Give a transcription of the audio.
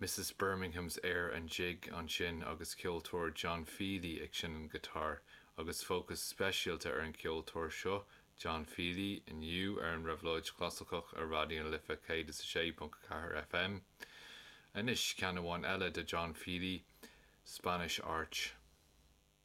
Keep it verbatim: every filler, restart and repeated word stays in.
Mrs Birmingham's Air and Jig ansin agus ceoltóir John Feely ag seinm giotár agus fócas speisialta ar an ceoltóir seo John Feely inniu ar an Réabhlóid Chlasaiceach ar Raidió na Life céad is a sé ponc ceathair FM. Anois ceann amháin eile de John Feely, Spanish Arch.